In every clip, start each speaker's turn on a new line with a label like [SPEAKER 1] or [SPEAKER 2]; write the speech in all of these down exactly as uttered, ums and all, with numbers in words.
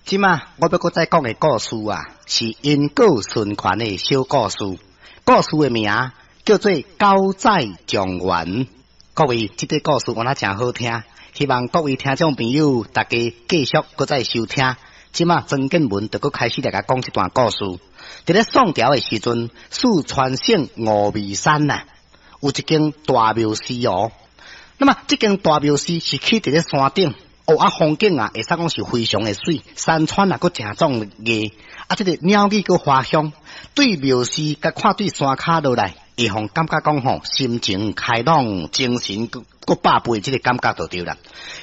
[SPEAKER 1] 這馬我欲閣再講的故事啊，是因果循環的小故事。故事的名叫做狗仔狀元。各位，這個故事敢若誠好聽，希望各位聽眾朋友大家繼續閣再收聽。這馬曾建文就閣開始來共講這段故事。佇咧宋朝的時陣，四川省峨眉山啊，有一間大廟寺哦。那麼這間大廟寺是起佇咧山頂，哦啊風景啊，會使講是非常的媠，山川啊閣誠壯麗，啊這個鳥語閣花香，對廟寺佮看對山跤落來，會予感覺講吼，心情開朗，精神閣閣百倍，這個感覺就對啦。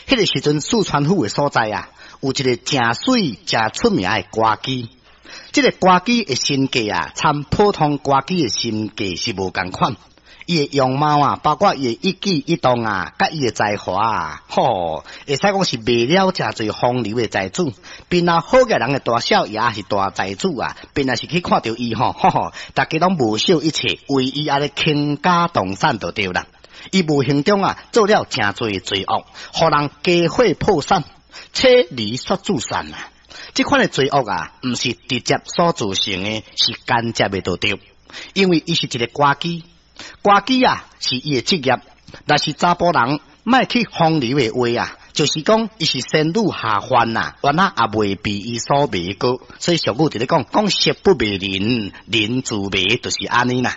[SPEAKER 1] 彼個時陣，四川府的所在啊，有一個誠媠、誠出名的歌姬。這個歌姬的身價啊，參普通歌姬的身價是無仝款。伊的容貌啊，包括伊的一舉一動啊，佮伊的才華啊，吼，會使講是賣了誠濟風流的才子。邊若好額人的大少爺抑是大財主啊，邊若是去看著伊吼，吼吼，大家攏無惜一切，為伊按呢傾家蕩產就對啦。伊無形中啊，做了誠濟罪惡，予人家伙破產，妻離宿子散啊！這款的罪惡啊，毋是直接所造成的，是間接的就對。因為伊是一個歌姬。歌姬啊，是伊的職業。若是查埔人欲去風流的話啊，就是講伊是仙女下凡啊，原來也袂被伊所迷過。所以俗語佇咧講，講色不迷人，人自迷，就是按呢啦。